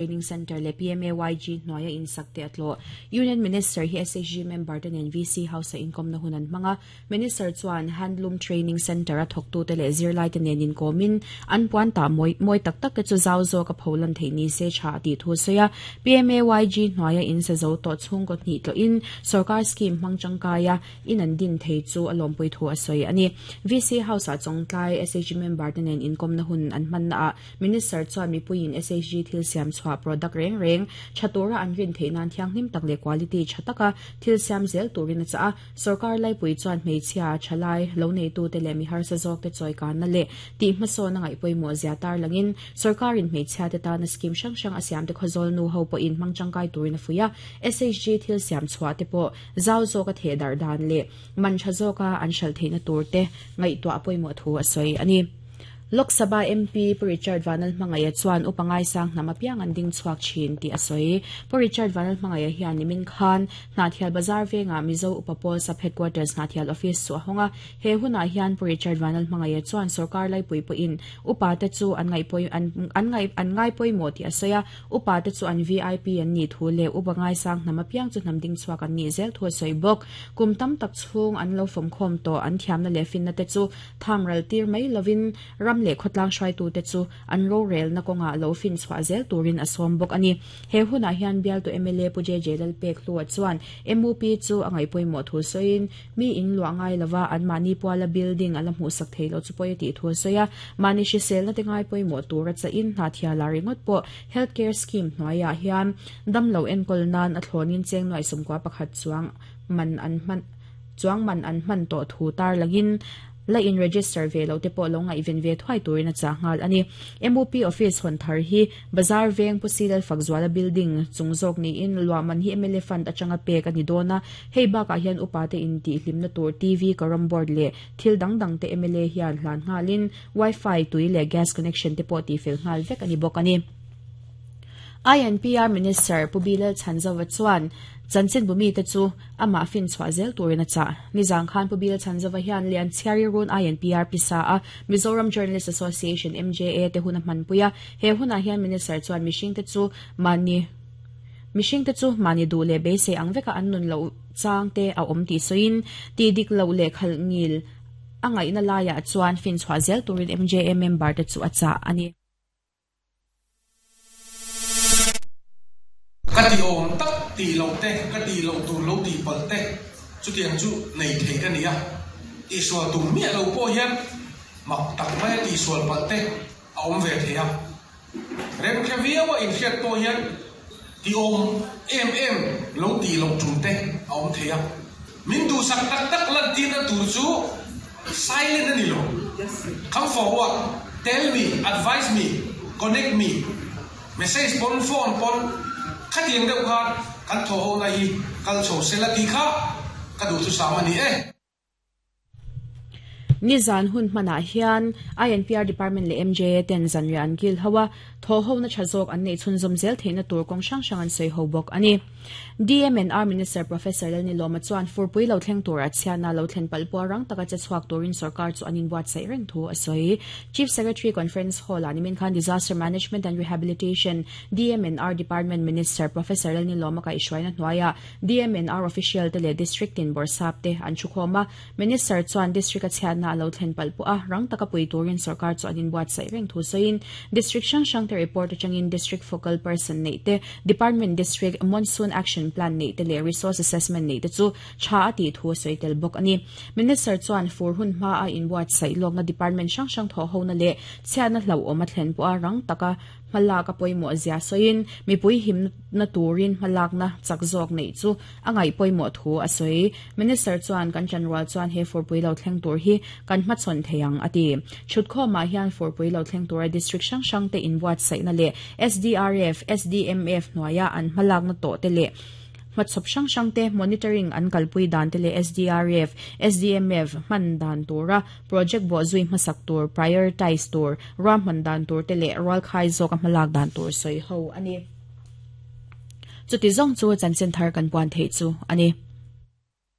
Training Centre leh PMAYG hnuaia insak te a tlawh. Union Minister hi SHG member te nen VC House-a inkawmna hun an hmang a. Minister chuan Handloom Training Centre-a thawktute leh zirlaite nen inkawmin an puan tah mawi mawi tak tak te chu zau zawk a pholan theih ni se tha a tih thu a sawi a. PMAYG hnuaia in sa zo tawh chhungkaw hnih tlawhin sorkar scheme hmang tangkaia in an din thei chu a lawmpui thu a sawi a ni. VC House-ah Chawngtlai SHG member te nen inkawmna hun an hmannaah Minister chuan mipuiin SHG thil siam chhuah product reng reng tha tura an rin theih nan thianghlim tak leh quality tha taka thil siam zel turin a chah a. Sorkar laipui chuan hmeichhia, thalai, lo neitute leh mi harsa zawkte chawikanna leh tih hmasawn a ngaih pawimawh zia tarlangin sorkarin hmeichhiate tana scheme hrang hrang a siamte khawzawl nu ho pawhin hmang tangkai turin a fuih a. SHG thil siam chhuah te pawh zau zawka theh darh dan leh man tha zawka an hralh theihna turte ngaihtuah a pawimawh thu a sawi a ni. Lok Sabha MP Pu Richard Vanlalhmangaia chuan upa ngaisang hnam apiang an ding chhuak thin tih a sawi. Pu Richard Vanlalhmangaia hian nimin khan Hnahthial Bazar vengah Mizo Upa Pawl Sub Headquarters Hnahthial Office chu a hawng a. He hunah hian Pu Richard Vanlalhmangaia chuan sorkar laipui pawhin upa te chu an ngaihpawi an an ngaih an ngaipawimawh tih a sawi a. Upa te chu an VIP an nih thu leh upa ngaisang hnam apiang chu hnam ding chhuak an nih zel thu a sawi bawk. Kum tam tak chhung an lo fawmkhawm tawh an thiamna leh finna te chu Tham ral tir mai lovin ram leh khawtlang hruaitute chu an rorelna kawngah lo fin chhuah zel turin a sawm bawk a ni. He hunah hian bialtu mla Pu JJ Lalpekhlua chuan MUP chu a ngaihpawimawh thu sawiin mi in luah ngai lova anmahni puala building a la hmuhsak thei lo chu pawi a tih thu a sawi a. Mahni hriselna te ngaipawimawh tura chahin hna thiala ringawt pawh Health Care Scheme hnuaiah hian damlo enkawl nan a thlawnin cheng nuaih 11 chuang man an hman Chuang man an hman tawh thu tarlangin la in register ve loh te pawh lo ngaihven ve thuai turin a chah nghal a ni. MUP office hawn thar hi Bazar veng Pu Silal Fakzuala building chung zawk niin luah man hi mla fund atanga pek a ni dawn a. Hei bakah hian upa te intihhlimna tur TV, carrom board leh thil dang dang te mla hian hlan nghalin wifi, tui leh gas connection te pawh tihfel nghal vek a ni bawk a ni. INPR Minister Pu Bilal Chhanzova chuan chanchinbu mite chu amah finchhuah zel turin a chah. Nizang khan Pu Bilal Chhanzova hian Lianchhiari Run INPR pisa a Mizoram Journalist Association, MJA, te hun a hmanpui a. He hunah hian Minister chuan mihringte chu mahni mihringte chu mahni duh leh beisei ang veka an nun loh chang te a awm tih sawiin tih dik loh leh khalh ngil a ngaihna laiah chuan finchhuah zel turin MJA member te chu a chah a ni. Ka ti awm tak tih loh te, ka tih loh tur lo tih palh te chutiang chu nei thei ka ni a. Tihsual tum miah lo pawh hian mak tak maia tihsual palh te a awm ve thei a. Remhre viaua inhriat pawh hian ti awm em em lo tih loh tum te a awm thei a. Min duhsak tak tak lantirna tur chu silent a ni lo. Come forward, tell me, advise me, connect me, message pawn, phone pawn, khatiang deuh khan kan thawhhona hi kal chho sela tih kha ka duhthusam a ni e. Nizan hun hmanah hian INPR Department leh MJA ten zanriah an kil ho a, thawhhona tha zawk an neih chhunzawm zel theihna tur kawng hrang hrang an sawi ho bawk a ni. DMNR Minister Professor Lalnilawma chuan furpui lo thleng tura chhiatna lo thlen palh pawh rang taka che chhuak turin sorkar chu an inbuatsaih reng thu a sawi. Chief Secretary Conference Hall-ah nimin khan Disaster Management and Rehabilitation, DMNR, Department Minister Professor Lalnilawma kaihhruaina hnuaiah DMNR official te leh District tin bawrhsap te an thukhawm a, Minister chuan District a chhiatna a lo thlen palh pawh a, rang taka pui turin sorkar chu an inbuatsaih reng thu sawiin District hrang hrang te report atangin District Focal Person neih te, Department District Monsoon Action Plan neih te leh Resource Assessment neih te chu tha a tih thu a sawi tel bawk a ni. Minister chuan fur hun hma a inbuatsaih lawkna Department hrang hrang thawhhona leh chhiatna hlauhawm a thlen pawh a rang taka Hmalak a pawimawh zia sawiin mipui himna turin hmalakna chak zawk neih chu a ngaih pawimawh thu a sawi. Minister chuan kan chanrual chuan he furpui lo thleng tur hi kan hmachhawn thei ang a ti. Chhutkhawmah hian furpui lo thleng tura district hrang hrangte inbuatsaihna leh SDRF, SDMF hnuaia an hmalakna tawh te leh Hmachhawp hrang hrang te monitoring an kalpui dan te leh SDRF, SDMF hman dan tura project bawhzui hmasak tur, prioritize tur, ruahman dan tur te leh rualkhai zawka hmalak dan tur sawi ho a ni. Chuti zawng chu chanchin thar kan puan theih chu a ni.